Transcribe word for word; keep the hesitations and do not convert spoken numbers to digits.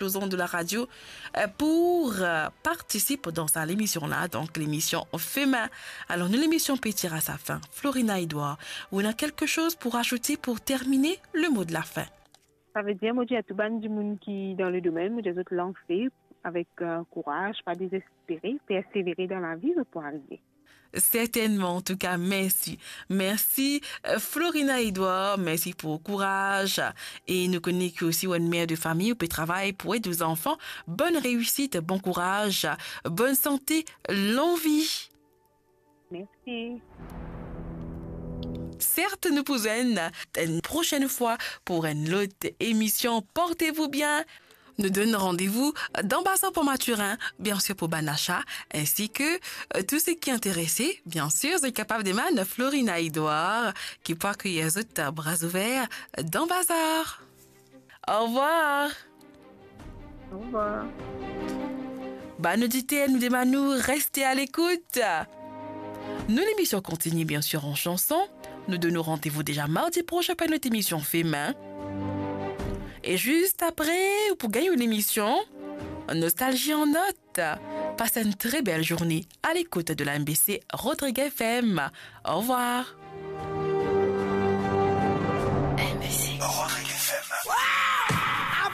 aux ondes de la radio, euh, pour, euh, participer dans sa, l'émission-là, donc l'émission Femin. Alors, nou lemision pe tir a sa fin. Florina Edouard, ou ena quelque chose pour ajouter pour terminer le mot de la fin? Savedir, mo dir a tou bann dimoun ki dan le domenn, mo dir zot lanse avek, euh, kouraz, pa dezespere, persevere dan lavi, zot pou arive. Certainement, en tout cas, merci. Merci, euh, Florina Edouard, merci pour kouraz. E nou kone ki osi ou enn mer de fami, ou pe travay pou ed ou zanfan. Bonne réussite, bon courage, bonne santé, longue vie. Merci. Certes, nou pou zwenn une prochaine fois pour une autre émission. Portez-vous bien. Nou donn randevou dan bazar pou Mathurin, bien sûr pour bann achat, ainsi que, euh, tous ceux qui intéressés, bien sûr, zot kapav demann Florina Edouard, ki pou akeyir zot a bra ouver dan bazar. Au revoir. Au revoir. Bann oditer, nou demann ou reste à l'écoute. Nou lemision kontinie, bien sûr, en chanson. Nou donn ou randevou deza mardi prosin pou enn lot emision Femin. E zis apre, ou pou gagn ou lemision Nostalgie en notes. Passe une très belle journée à l'écoute de la M B C Rodrigues F M. Au revoir.